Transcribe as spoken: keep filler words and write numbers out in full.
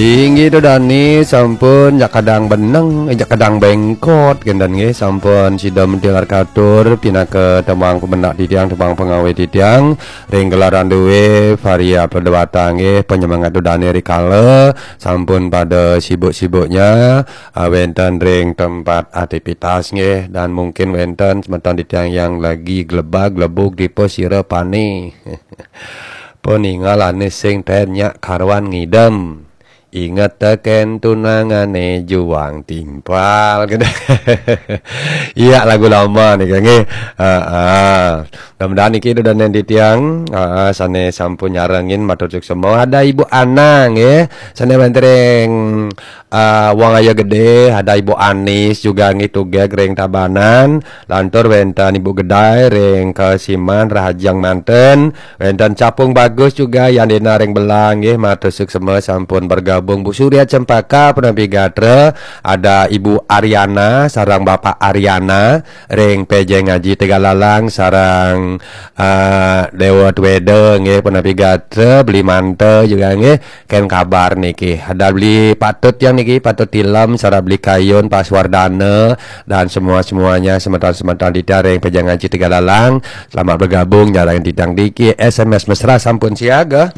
Inggih, Dani sampun jak kadang beneng, jak kadang bengkot, kénten nggih, sampun sida mentil arkatur pinaka tembang pemendak titiang, tembang pengawé titiang, ring gelaran dué Varia Pledewata nggih, penyemangat Dani rikala sampun pada sibuk-sibuknya, ah, wénten ring tempat aktivitas nggih, dan mungkin wénten semeton titiang yang lagi glebag-glebug dipa sira pané. Paningalane sing ten nyak karuan ngidem. Inget teken tunangane juang timpal. Iya, lagu lama nih, nggih. Heeh. Mudah-mudahan niki dudonan titiang, heeh, sane sampun nyarengin, matur suksema. Ada Ibu Ana nggih, sane wénten ring, eh, Wong Ayo Gede, ada Ibu Anis juga nggih, tugeg ring Tabanan, lantur wénten Ibu Gedai ring Kesiman, Rahajeng manten, wénten Capung Bagus juga, Yandina ring Belang nggih, matur suksema sampun bergabung. Bu Surya Cempaka, punapi gatra, ada Ibu Ariana sareng Bapak Ariana ring P J Ngaji Tegalalang, sareng, eh, Dewa Tweda nggih, punapi gatra, Beli Manta juga nggih, ken kabar niki. Ada Beli Patut yang niki, Patut Tilem, sareng Beli Kayun, Pak Swardana, dan semua-semuanya, semeton-semeton titiang ring P J Ngaji Tegalalang. Selamat bergabung, nyarengin titiang niki, S M S mesra sampun siaga.